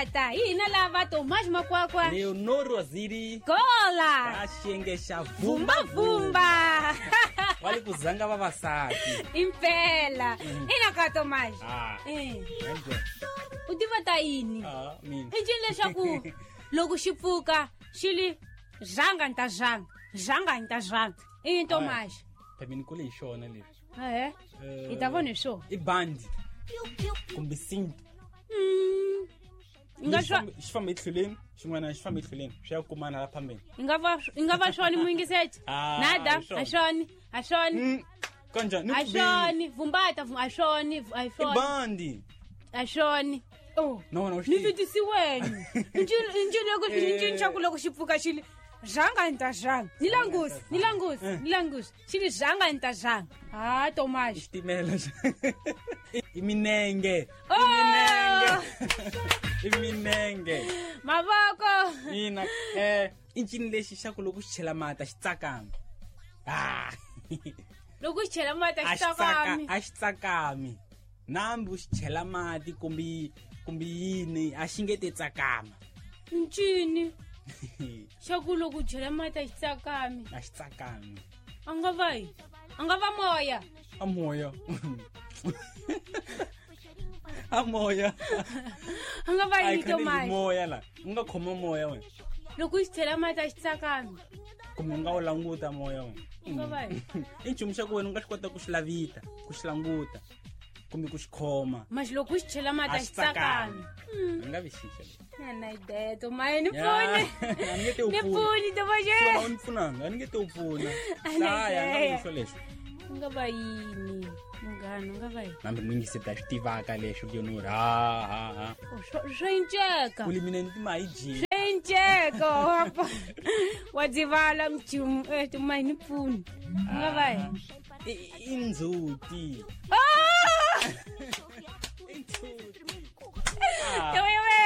Vumbata hi hina lava Tomas Makwakwa Leonor Waziri Gola ka xiyenge xa Vumba Vumba va le ku zanga vavasati impela ina ka Tomas. Ah. U tiva ta yini? Ah, mina. I ncini leswaku loko xi pfuka xi li zhanga ni ta zhanga zhanga ni ta zhanga i yini Tomas? Phela ni kule hi xona leswi. Ehe. Hi ta vona hi swona. I bandi kumbe cinto. Nga swa Xi famba etlhelweni xin'wana xi famba etlhelweni swi ya kumana la phambeni. I nga va swona muyingiseti? Ah, Nada, hi swona. a swona, a swona. Kanjhani? Ni A ku bile. swona, vumbata a swona, a I swona. bandi. A swona. Oh. Na wena u xi Ni tivi. vitisiweni. Ncini xa ku loko xi pfuka xi li zhanga ni ta zhanga. Ni langusi, ni langusi, ni langusi. Xi li zhanga ni ta zhanga. Ha Tomas. Xitimela xa. I minenge. Oh! I minenge. I minenge. Mavoko. Ina i ncini lexi xa ku loko xi chela mati a xi tsakami. Ah. Loko xi chela mati a A xi xi tsaka tsakami. a xi tsakami. Nambi u xi chela mati kumbe yini a xi nge te tsakama. Ncini xa ku loko u chela mati a xi tsakami. A xi tsakami. A nga va yi. A nga va moya. A moya. A moya. A nga va A yini yi khale hi Tomas? moya la. U nga khoma moya wena. Loko u xi chela mati a xi tsakami. Kumbe u nga wu languta moya wena. U nga va yini? I nchumu xa ku wena u nga swi kota ku xi lavita, ku xi languta kumbe ku xi khoma. Maxi loko u xi chela mati a xi tsakami. A nga vi xixa lexi. Na ideya Tomas, ni Ya, pfuni. a ni nge te u Ni pfuna. pfuni Tomas. Swona u ni pfunanga, a ni nge te u pfuna. A na Hlaya, a nga ideya. vi xo lexo. U nga va yini? Munghana, u nga va yini? Nambe muyingisi ta swi tivaka leswo Leonor. Ha ha ha. Oh, swo inceka. Ku li mina ni tima hi jini. Swo inceka. Wa dzivala mchumu. Tomas, ni pfuni. U nga va yini? I ndzhuti. Ah! I ndzhuti. Yoyowe.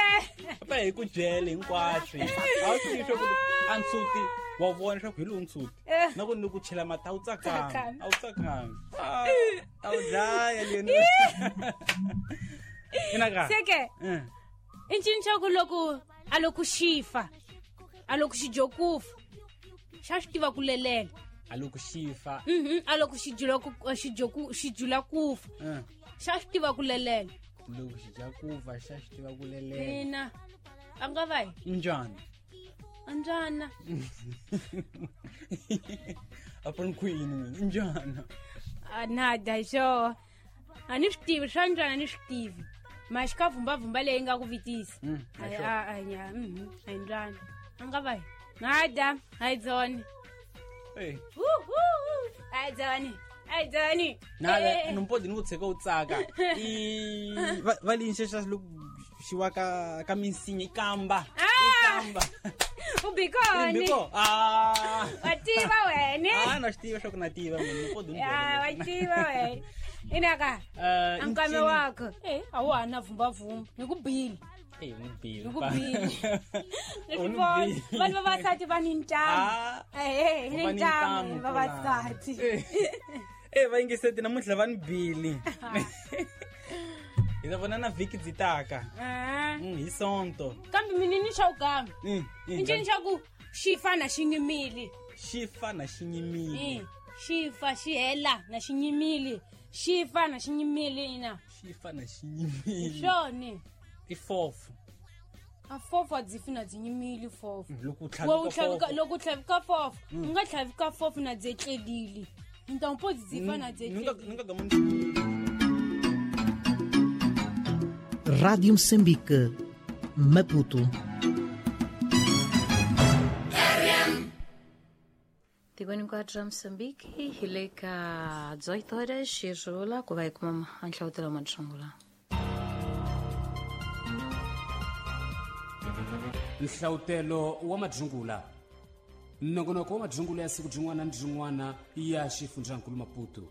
Va hi ku byele hinkwaswo. A wu swi tivi swa ku a ndzhuti wa vona swa ku hi lowu ndzhuti. Na ku ni ku chela mati a wu tsakami. Tsakami. A wu tsakami. Ah, a wu dlaya Leonor. Ina ka. Seke. I ncini xa ku loko a loko xi fa a loko xi dyo ku fa xa swi tiva ku lelela. A loko xi fa. A loko xi jula ku xi dyo ku xi jula ku fa xa swi tiva ku lelela. Loko xi dya ku fa xa swi tiva ku lelela. Ina a nga va yi. Njhani? Anjana. A pfuni ku yini mina? Njhani? A nada hi swo. A ni swi tivi swa njhani a ni swi tivi. Maxi ka vumbavumba leyi nga ku vitisa. A Ai, sure. a a nya, a hi njhani. A nga va yi. Nada, a hi dzoni. Eh. A hi dzoni. A hi dzoni. Nada, numpodi ni ku tshika u tsaka. I va li nxexa loko xi wa ka minsinya i kamba. I kamba. U bikoni. Biko. Ah. Wa tiva wena. Ah, na swi tiva swa ku na tiva mina numpodi ni Ya, wa byela. tiva wena. Inaka. Ankame wakho. A wu ha na vumbavumba. Ni ku bile. Eh, ni bile. Ni ku bile. Ni U swi ni vona. bile. Vanhu vavasati va ni ntamu. Ah. Eh, ni Va ni ntamu ntamu vavasati. Eh, va yingiseti namuntlha va ni bile. Hi ta vona na vhiki byi taka. Ah. Hi Sonto. Kambe mina ni xa ugama. I ncini xa ku xi fa na xi nyimile. Xi fa na xi nyimile. Xi fa xi hela na xi nyimile. Xi fa na xi nyimile ina. Xi fa na xi nyimile. Swona. I fofo. A fofo a byi fi na byi nyimile fofo. Loko u Wa u tlhavika tlhavika fofo. loko u tlhavika fofo, u nga tlhavika fofo na byi etlelile. Ntampo byi fa na byi Ni nga etlelile. ni nga gama ni Rádio Moçambique, Maputo. Tikweni hinkwaro ra Mozambique hi le ka 18 horas xirhula ku va hi kuma nhlavutelo wa madungula. Nhlavutelo wa madungula. Nongonoko wa madungula ya siku rin'wana ni rin'wana ya xifundzankulu Maputo.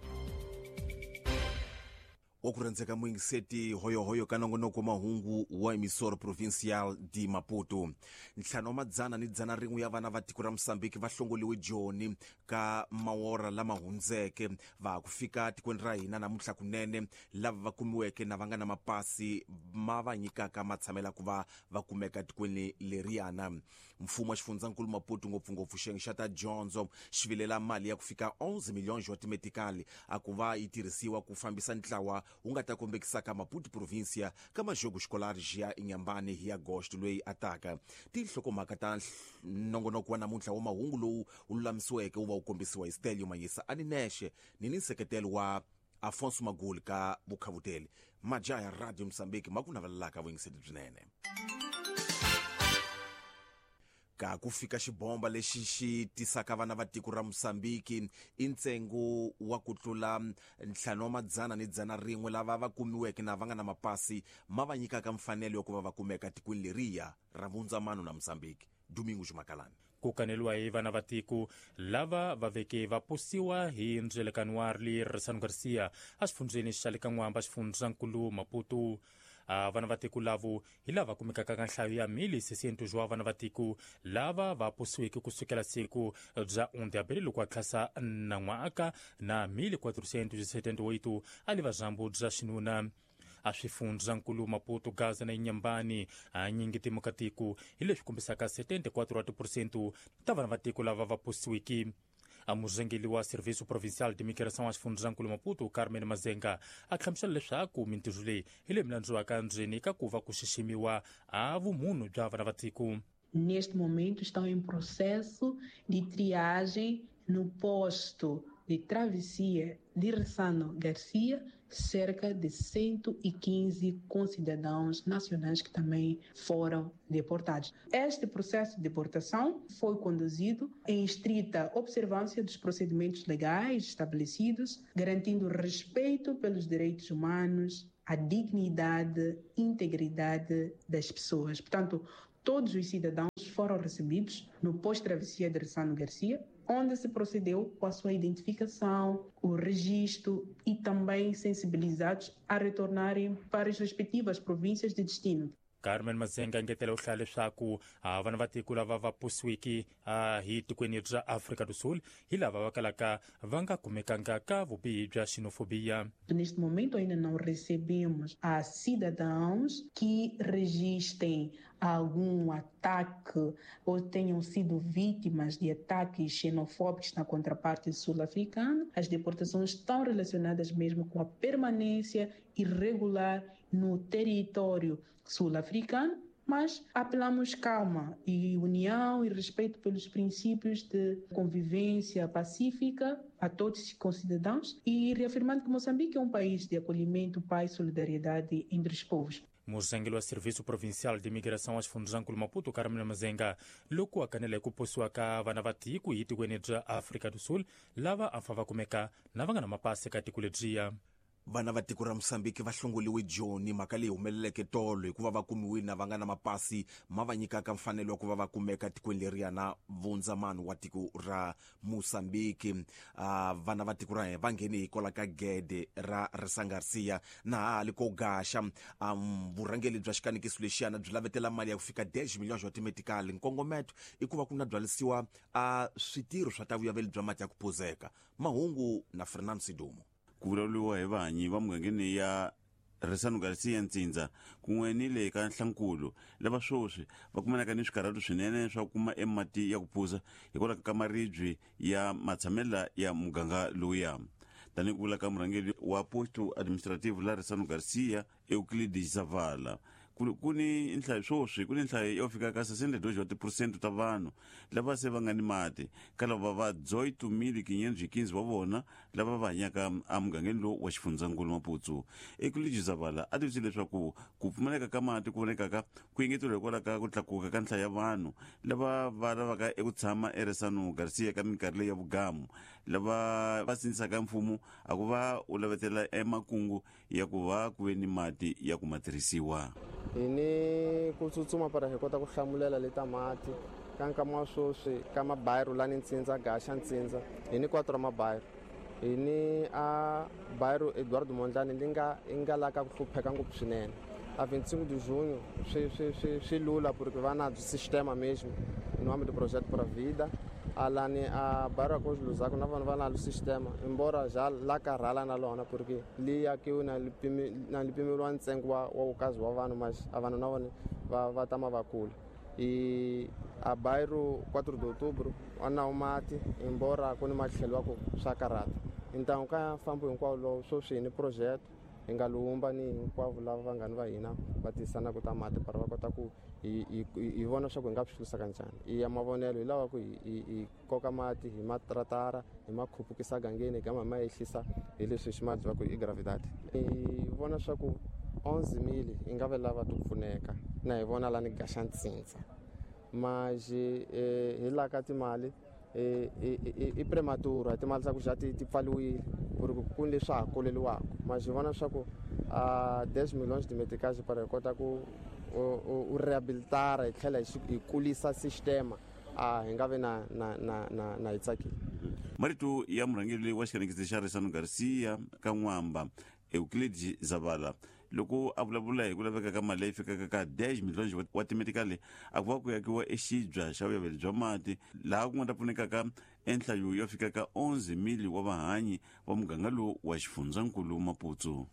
Wa ku rhandzeka muyingiseti hoyohoyo ka nongonoko wa mahungu wa Emissora Provincial de Maputo. 501 ya vana va tiko ra Mozambique va hlongoliwe Joni ka mawora lama hundzeke va ku fika tikweni ra hina namuntlha kunene, lava va kumiweke na va nga na mapasi ma va nyikaka matshamela ku va va kumeka tikweni leriyana. Mfumo wa xifundzankulu Maputo ngopfungopfu xiyenge xa ta dyondzo xi vilela mali ya ku fika 11 milhões wa timetikali a ku va yi tirhisiwa ku fambisa ntlawa wu nga ta kombekisaka Maputo província ka majogo escolar ya Inhambane hi agosto loyi ataka. Tinhlokomhaka ta nongonoko wa namuntlha wa mahungu lowu wu lulamisiweke wu va wu kombisiwa hi Stelio Mayisa a ni nexe ni ni nseketelo wa Afonso Maguli ka vukhavuteli. Majaha ya Radio Mozambique ma ku navelelaka vuyingiseli byinene. Ka ku fika xibomba lexi xi tisaka vana va tiko ra Mozambique i ntsengo wa ku tlula 501 lava va kumiweke na va nga na mapasi ma va nyikaka mfanelo ya ku va va kumeka tikweni leriya ra vundzamano na Mozambique. Domingo Jumakalani. Ku kaneliwa hi vana va tiko lava va veke va posiwa hi ndzelekano wa Ressano Garcia exifundzheni xa le ka N'wamba xifundzankulu Maputo. Vana va tiko lavo hi lava kumekaka ka nhlayo ya 1600 wa vana va tiko lava va posiweke kusukela siku bya 1 de abril loko a tlhasa nan'waka na 1478 a li vazambu bya xinuna. A swifundzankulu Maputo, Gaza na Inhambane hanyingi timokatiko hi leswi kombisaka 74% ta vana va tiko lava va posiweke. A murhangeri wa Serviço Provincial de Migração exifundzankulu Maputo, Carmen Mazenga, a hlamusela leswaku mintirho leyi hi leyi milandziwaka ndzeni ka ku va ku xiximiwa a vumunhu bya vana va tiko. Neste momento estão em processo de triagem no posto de travessia de Ressano Garcia, cerca de 115 concidadãos nacionais que também foram deportados. Este processo de deportação foi conduzido em estrita observância dos procedimentos legais estabelecidos, garantindo respeito pelos direitos humanos, a dignidade e integridade das pessoas. Portanto, todos os cidadãos foram recebidos no pós-travessia de Ressano Garcia, onde se procedeu com a sua identificação, o registro e também sensibilizados a retornarem para as respectivas províncias de destino. Carmen Mazenga engetela u hlaya leswaku vana va tiko lava va posiweke hi tikweni bya Afrika do Sul hi lava va kalaka va nga kumekanga ka vubihi bya xenofobia. Neste momento ainda não recebemos a cidadãos que registrem algum ataque ou tenham sido vítimas de ataques xenofóbicos na contraparte sul-africana. As deportações estão relacionadas mesmo com a permanência irregular no território sul-africano, mas apelamos calma e união e respeito pelos princípios de convivência pacífica a todos os concidadãos e reafirmando que Moçambique é um país de acolhimento, paz e solidariedade entre os povos. Murhangeri wa Serviço Provincial de Migração exifundzankulu Maputo, Carmen Mazenga, loko a kanela hi ku posiwa ka vana va tiko hi tikweni bya Afrika do Sul lava a fa va kumeka na va nga na mapasi ka tiko lebyiya. Vana va tiko ra Mozambique va hlongoliwe Joni, mhaka leyi humeleleke tolo hikuva va kumiwile na va nga na mapasi ma va nyikaka mfanelo wa ku va va kumeka tikweni leriya na vundzamano wa tiko ra Mozambique. Vana va tiko ra hina va nghene hikwalaho ka gede ra Ressano Garcia na hali ko gaxa. Vurhangeri bya xikanekiso lexiyana byi lavetela mali ya ku fika 10 milhões wa timetikali. Nkongometo i ku va ku na byalisiwa switirho swa ta vuyaveli bya mati ya ku phuzeka. Mahungu na Fernando Sidumo. Ku vulavuriwa hi vahanyi va mugangeni ya Ressano Garcia Ntsindza kun'we ni le ka Nhlankulu lava sweswi va kumanaka ni swikarhatu swinene swa ku kuma emati ya ku phuza hikwalaho ka maribye ya matshamela ya muganga lowuya. Tanihi ku vula ka murhangeri wa posto administrative la Ressano Garcia Euclides Zavala, ku ni nhlayo sweswi ku ni nhlayo yo fika ka 62% ta vanhu lava se va nga ni mati ka lava va 8.515 wa vona lava va hanyaka emugangeni lowu wa xifundzankulu Maputo. Euclides Zavala a tivisile leswaku ku pfumaleka ka mati ku vonekaka ku engeteriwa hikwalaho ka ku tlakuka ka nhlayo ya vanhu lava va lavaka eku tshama eRessano Garcia ka minkarhi leyi ya vugamu, lava va sindzisaka mfumo a ku va u lavetela emakungu ya ku va ku ve ni mati ya ku ma tirhisiwa. Hi ni ku tsutsuma para hi kota ku hlamulela leta mati ka nkama wa sweswi ka mabayiro lani Ntsindza gaxa Ntsindza hi ni 4 mabayiro Hi ni a bairro Eduardo Mondlane li nga i nga la ka ku hlupheka ngopfu swinene. A 25 de junho swi lula porque va na sistema mesmo em nome do projeto Pura Vida. Alani a bairro Arcos Luzaku na vona va na sistema embora já la karhala na lona porque li akiwe na li pimeriwa ntsengo wa wukazi wa vanhu, mas a vanhu na vona va tama va kula. E a bairro 4 de outubro a na mati embora ku ni matlhelo wa ku swa karhata. Então ka fambo hinkwawo lowu sweswi hi ni projeto hi nga lumba ni hinkwavo lava vanghani va hina va tisanaka ta mati para va kota ku hi vona swa ku hi nga swi hlurisa kanjhani. I ya mavonelo hi lava ku hi koka mati hi matratara hi ma khupukisa gangeni hi gama hi ma ehlisa hi leswi xi ma ku i gravidade. Hi vona swa ku 11,000 hi nga ve lava ti pfuneka na hi vona la ni gaxa ntsindza mas hi la ka timali i prematura timali ta ku xa ti pfaliwile ku ri ku ni leswi ha koleliwaka, mas hi vona swa ku 10 milhões de meticais para hi kota ku u rehabilitara hi tlhela hi kulisa sistema hi nga vi na hi tsakile. Marito ya murhangeri wa xikanekisi xa Ressano Garcia ka N'wamba Euclides Zavala loko a vulavula hi ku laveka ka mali leyi fikaka ka 10 milhões wa timetikali a ku va ku yakiwa exibya xa vuyaveli bya mati laha ku nga ta pfunekaka enhlayo yo fika ka 11,000 wa vahanyi va muganga lowu wa xifundzankulu Maputo.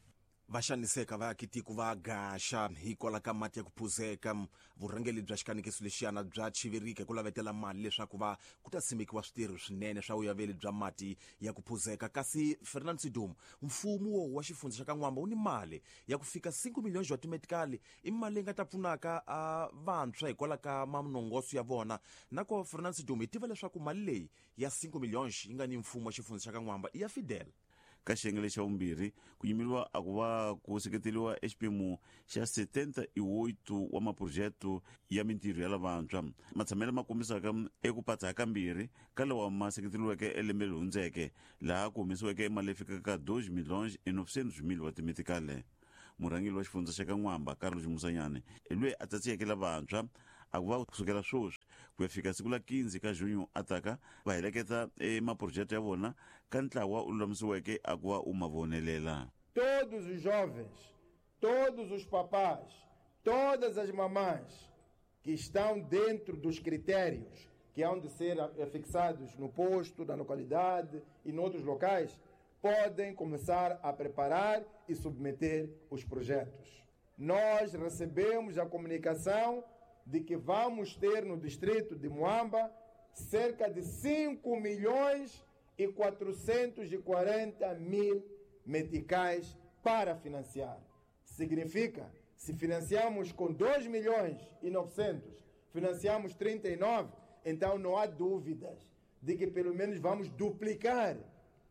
Va xaniseka vaakitiko va gaxa hikwalaho ka mati ya ku phuzeka. Vurhangeri bya xikanekiso lexiyana bya chivirika ku lavetela mali leswaku va ku ta simekiwa switirho swinene swa vuyaveli bya mati ya ku phuzeka. Kasi Fernand Sidum, mfumo wa xifundza xa ka N'wamba wu ni mali ya ku fika 5 milhões wa timetikali, i mali leyi nga ta pfunaka vantshwa hikwalaho ka manongoso ya vona. Nako Fernand Sidum, hi tiva leswaku mali leyi ya 5 milhões yi nga ni mfumo wa xifundza xa ka N'wamba i ya Fidel. Ka xiyenge lexa vumbirhi ku yimeriwa a ku va ku seketeriwa exiphemu xa 78 wa maphurojete ya mintirho ya lavantshwa matshamelo ma kombisaka eku patsa kambirhi ka lawa ma seketeriweke elembe leri hundzeke laha ku humesiweke mali leyi fikaka ka 2 milhões e 900 mil wa timetikale. Murhangeri wa xifundza xa ka N'wamba Carlos Musanyane hi loyi a tsatsiyeke lavantshwa a ku va kusukela sweswi ku ya fika siku la 15 ka junho a taka va heleketa emaphurojete ya vona ka ntlawa u lulamisiweke a ku va u ma vonelela. Todos os jovens, todos os papás, todas as mamães que estão dentro dos critérios que hão de ser fixados no posto, na localidade e noutros locais, podem começar a preparar e submeter os projetos. Nós recebemos a comunicação de que vamos ter no distrito de Moamba cerca de 5.440.000 meticais para financiar. Significa, se financiamos com 2.900.000, financiamos 39, então não há dúvidas de que pelo menos vamos duplicar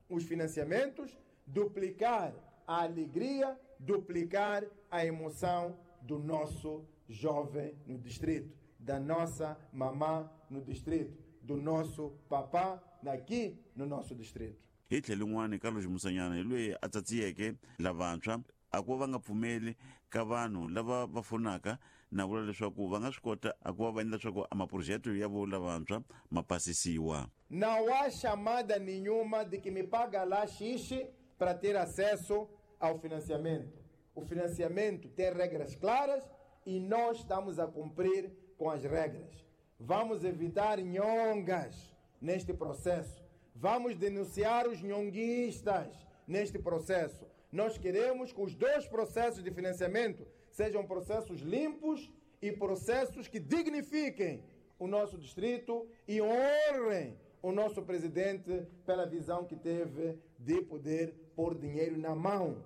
os financiamentos, duplicar a alegria, duplicar a emoção do nosso jovem no distrito, da nossa mamã no distrito, do nosso papá aqui no nosso distrito. Hi tlhelo rin'wana Carlos Musanyana hi loyi a tsatsiyeke lavantshwa a ku va nga pfumeli ka vanhu lava va fonaka na vula leswaku va nga swi kota a ku va va endla leswaku a maphurojete ya vo lavantshwa ma pasisiwa. Não há chamada nenhuma de que me paga lá xixi para ter acesso ao financiamento. O financiamento tem regras claras e nós estamos a cumprir com as regras. Vamos evitar nhongas neste processo. Vamos denunciar os nhonguistas neste processo. Nós queremos que os dois processos de financiamento sejam processos limpos e processos que dignifiquem o nosso distrito e honrem o nosso presidente pela visão que teve de poder pôr dinheiro na mão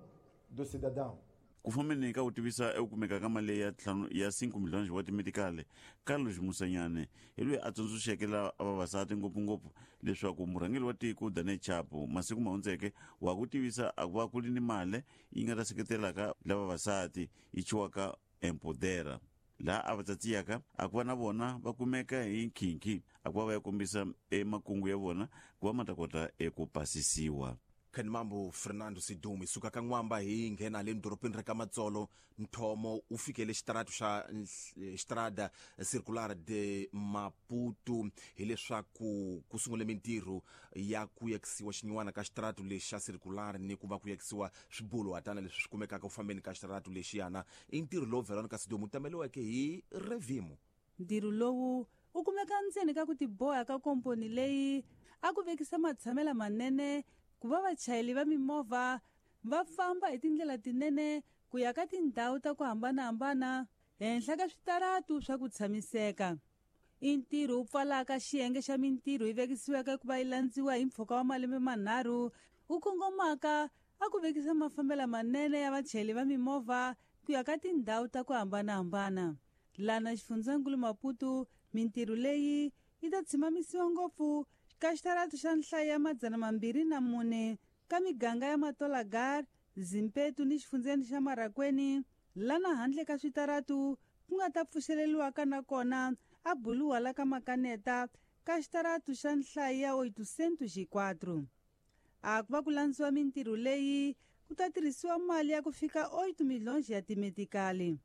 do cidadão. Ku fambeni ka ku tivisa eku kumeka ka mali ya ya 5 milhões wa timetikali, Carlos Musanyane hi loyi a tsundzuxeke la vavasati ngopfungopfu leswaku murhangeri wa tiko Daniel Chapo masiku ma hundzeke wa ku tivisa a ku va ku ri ni mali yi nga ta seketelaka la vavasati yi chiwaka Empodera laha a va tsatsiyaka a ku va na vona va kumeka hi nkhinkhi a ku va va ya kombisa emakungu ya vona ku va ma ta kota eku pasisiwa. Khanimambo Fernando Sidumi suka ka N'wamba hi nghena le dorobeni ra ka Matsolo nthomo wu fikele xitaratu xa Estrada Circular de Maputo hileswaku ku sungule mintirho ya ku yakisiwa xinyiwana ka xitaratu lexi xa circular ni ku va ku yakisiwa swibuluhatana leswi swi kumekaka ku fambeni ka xitaratu lexiyana. I ntirho lowu Veronica Sidumo wu tameliweke hi Revimo. Ntirho lowu wu kumeka ndzeni ka ku tiboha ka komponi leyi a ku vekisa matshamela manene ku va vachayeri va mimovha va famba hi tindlela tinene ku ya ka tindhawu ta ku hambanahambana henhla ka switaratu swa ku tshamiseka. I ntirho wu pfalaka xiyenge xa mintirho yi vekisiweke ku va yi landziwa hi mpfhuka wa malembe manharhu wu kongomaka a ku vekisa mafambelo manene ya vachayeri va mimovha ku ya ka tindhawu ta ku hambanahambana. Lana xifundzankulu Maputo mintirho leyi yi ta tshimamisiwa ngopfu ka xitaratu xa nhlayo ya 204 ka miganga ya Matolagar, Zimpetu ni xifundzeni xa Marakweni, lana handle ka switaratu ku nga ta pfuxeleriwaka na kona a buluwa la ka Makaneta ka xitaratu xa nhlayo ya 804. A ku va ku landziwa mintirho leyi ku ta tirhisiwa mali ya ku fika 8 miliyoni ya timetikali.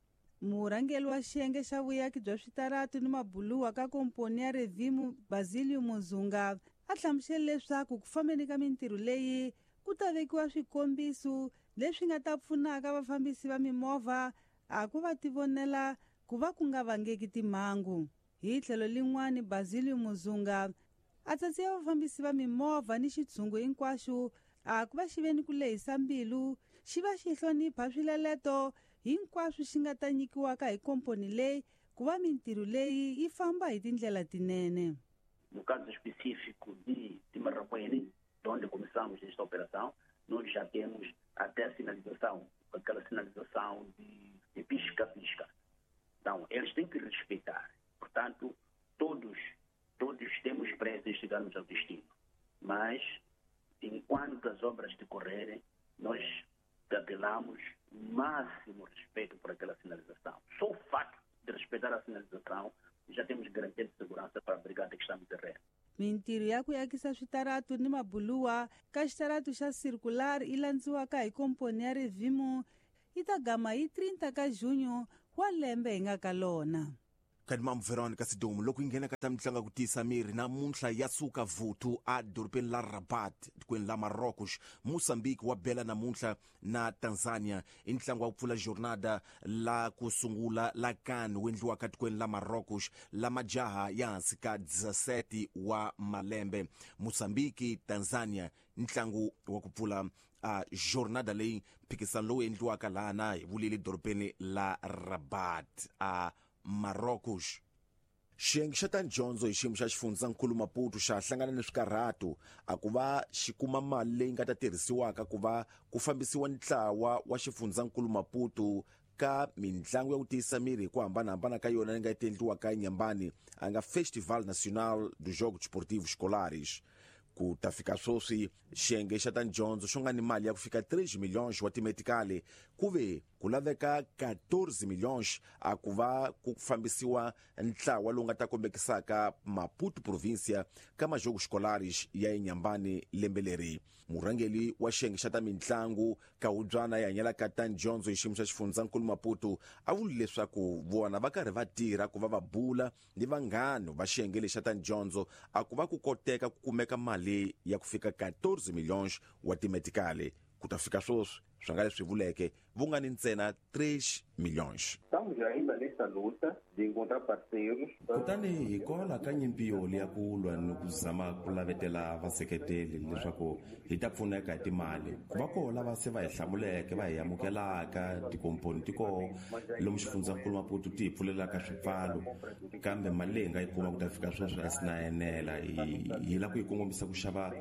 Murhangeri wa xiyenge xa vuyaki bya switaratu ni mabuluwa ka komponi ya Revimu Basilio Muzunga a hlamusele leswaku ku fambeni ka mintirho leyi ku ta vekiwa swikombiso leswi nga ta pfunaka vafambisi va mimovha a ku va tivonela ku va ku nga vangeki timhangu. Hi tlhelo lin'wani Basilio Muzunga a tsatsiya vafambisi va mimovha ni xitshungu hinkwaxo a ku va xi ve ni ku lehisa mbilu xi va xi hlonipha swileleto hinkwaswo xi nga ta nyikiwaka hi komponi leyi ku va mintirho leyi yi famba hi tindlela tinene. No caso específico de Marracuene, onde começamos esta operação, nós já temos até a sinalização, aquela sinalização de pisca-pisca. Então, eles têm que respeitar. Portanto, todos temos pressa em chegarmos ao destino. Mas, enquanto as obras decorrerem, nós apelamos o máximo respeito por aquela sinalização. Só o facto de respeitar a sinalização, já temos garantia de segurança para a brigada que está no terreno. Mintirho ya ku yakisa switaratu ni mabuluwa ka xitaratu xa circular yi landziwaka hi komponi ya Revimu yi ta gama hi 30 ka junho wa lembe hi nga ka lona. Kadimam Veronica Sidumo loko yi nghena ka ta mitlangu ku tiyisa miri namuntlha ya suka vuthu a dorobeni la Rabat tikweni la Marrocos. Mozambique wa bela namuntlha na Tanzania i ntlangu wa ku pfula jornada la ku sungula la CAN wu endliwaka tikweni la Marrocos la majaha ya hansi ka 17 wa malembe. Mozambique Tanzania ntlangu wa ku pfula a jornada leyi mphikisano lowu endliwaka lana hi vulile dorobeni la Rabat a Marrocos. Xiyenge xa ta dyondzo hi xiyimo xa xifundzankulu Maputo xa hlangana ni swikarhato a ku va xi kuma mali leyi nga ta tirhisiwaka ku va ku fambisiwa ntlawa wa xifundzankulu Maputo ka mitlangu ya ku tiyisa miri hi ku hambanahambana ka yona leyi nga ta endliwaka eNyambani a nga Festival Nacional dos Jogos Desportivos Escolares. Ku ta fika sweswi xiyenge xa ta dyondzo xo nga ni mali ya ku fika 3 milhões wa timetikali ku ve ku laveka 14 milhões a ku va ku fambisiwa ntlawa lowu nga ta kombekisaka Maputo província ka majogos escolares ya eNyambani lembe leri. Murhangeri wa xiyenge xa ta mitlangu Kawubyana ya hanyelaka ta dyondzo hi xiyimo xa xifundzankulu Maputo a vuli leswaku vona va karhi va tirha ku va va bula ni vanghana va xiyenge lexa ta dyondzo a ku va ku koteka ku kumeka mali ya ku fika 14 milhões wa timetikali. Ku ta fika sweswi swi nga leswi vuleke vu nga ni ntsena 3 milhões. Estamos ainda nessa luta de encontrar parceiros. Kutani hi kola ka nyimpi yoli ya ku lwa ni ku zama ku lavetela vaseketeli leswaku hi ta pfuneka hi timali. Ku va koho lava se va hi hlamuleke va hi amukelaka tikomponi ti koho lomu xifundzankulu Maputo ti hi pfulelaka swipfalo, kambe mali leyi hi nga yi kuma ku ta fika sweswi a si na enela. Hi lava ku yi kongomisa ku xava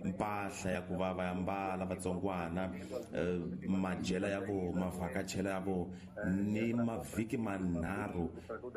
mpahla ya ku va va ambala vatsongwana, madyela ya vo, mavhakachela ya vo ni mavhiki manharhu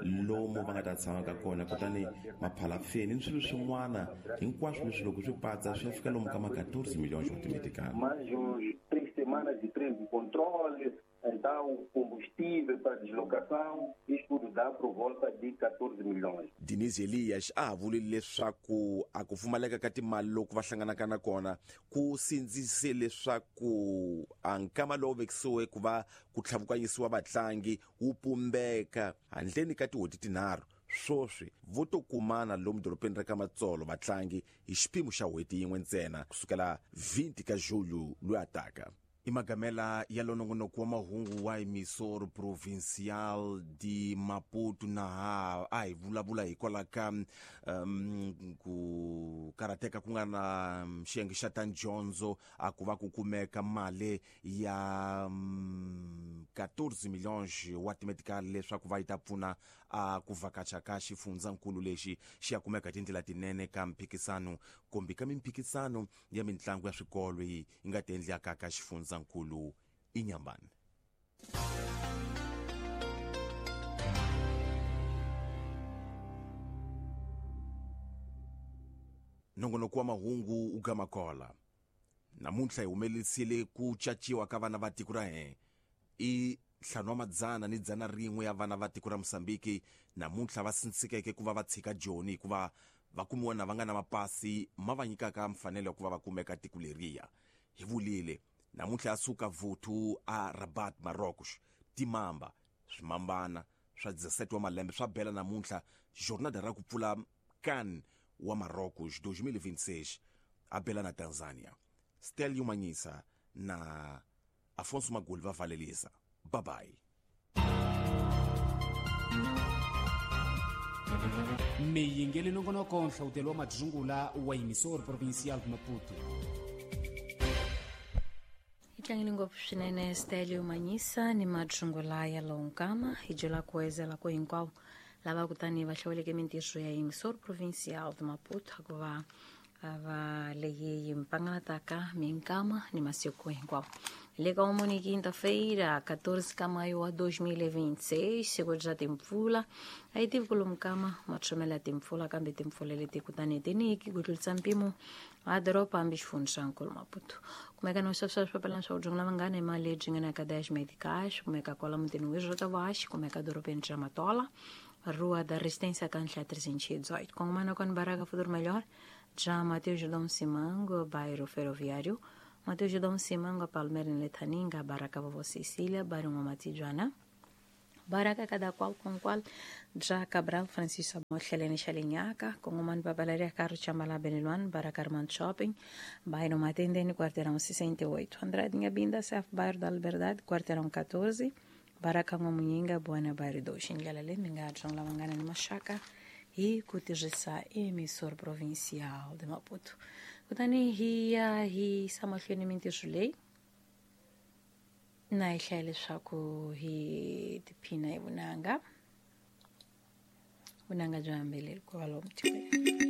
lomu va nga ta tshama ka kona, kutani maphalafeni ni swilo swin'wana hinkwaswo leswi loko swi patsa swi ya fika lomu ka ma 14 milhões wa timetikali. Mais uns 3 semanas de treino de controle, Então, combustível para deslocação, isto tudo dá por volta de 14 milhões. Denise Elias a ha vuli leswaku a ku pfumaleka ka timali loku va hlanganaka na kona ku sindzise leswaku a nkama lowu vekisiwe ku va ku tlhavukanyisiwa vatlangi wu pumbeka handleni ka tin'hweti tinharhu. Swoswi vo to kumana lomu dorobeni ra ka Matsolo vatlangi hi xiphemu xa n'hweti yin'we ntsena kusukela 20 ka Julho loyi a taka. I magamela ya lonongonoko wa mahungu wa Emissor Provincial de Maputo na a hi vulavula hikwalaho ka ku karhateka ku nga na xiyenge xa ta dyondzo a ku va ku kumeka mali ya 14 milhões wa timedical leswaku va yi ta pfuna a ku vhakacha ka xifundzankulu lexi xi ya kumeka tindlela tinene ka mphikisano kumbe ka mimphikisano ya mitlangu ya swikolo yi nga ti endlaka ka xifundzankulu Inhambane. Nongonoko wa mahungu u gama kola. Namuntlha hi humelerisile ku caciwa ka vana va tiko ra hina i 501 ya vana va tiko ra Mozambique namuntlha va sindzikeke ku va va tshika Joni hikuva va kumiwa na va nga na mapasi ma va nyikaka mfanelo ya ku va va kumeka tiko leriya. Hi vulile namuntlha ya suka vuthu a Rabat Marocos timamba swimambana swa 17 wa malembe swa bela namuntlha jornada ra ku pfula CAN wa Marocos 2026 a bela na Tanzania. Stelio Manyisa na Afonso Magoli va valelisa. Bye bye. Miyingeli nongonoko nhlawutelo wa madzungula wa Emissor Provincial de Maputo. Hi tlangile ngopfu swinene Stelio Manyisa ni madzungula ya lonkama hi byela ku ezela ku hinkwavo lava kutani va hlawuleke mintirho ya Emissor Provincial de Maputo ku va va leyi mpanganataka minkama ni masiku hinkwawo. Le ka umuni quinta-feira 14 ka maio wa 2026 siku bya timpfula a yi tivi ku lomu kama matshomela ya timpfula kambe timpfula leti kutani tiniki ku tlurisa mpimo a doroba hambi xifundzankulu Maputo. Kumeka no sweswo swipapalana swa ku dyongela vanghana hi mali lebyi nga na ka 10 medicais kumeka kwala mutini wa Rotavax kumeka dorobeni ra Matola Rua da Resistência Cancha 318. Kongomana com Barraca Futuro Melhor, já Mateus Judão Simango, bairro Ferroviário, Mateus Judão Simango, Palmeira em Letaninga, Barraca Vovó Cecília, bairro Mamatijuana, Barraca cada qual com qual, já Cabral Francisco Helene Xalinhaca, Kongomano Papelaria Carlos Chambalá Beniluan, Barraca Armando Shopping, bairro Matendene, quarteirão 68, Andradinha Binda, Cef, bairro da Liberdade, quarteirão 14, Baraka N'wamunyinga Buana bairro 2. Ndlela leyi mi nga dyondzela vanghana ni maxaka hi ku tirhisa Emissor Provincial de Maputo. Kutani hi ya hi yisa mahlweni mintirho leyi na hi hlaya leswaku hi tiphina hi vunanga byo hambeleli kwalomu tikweni.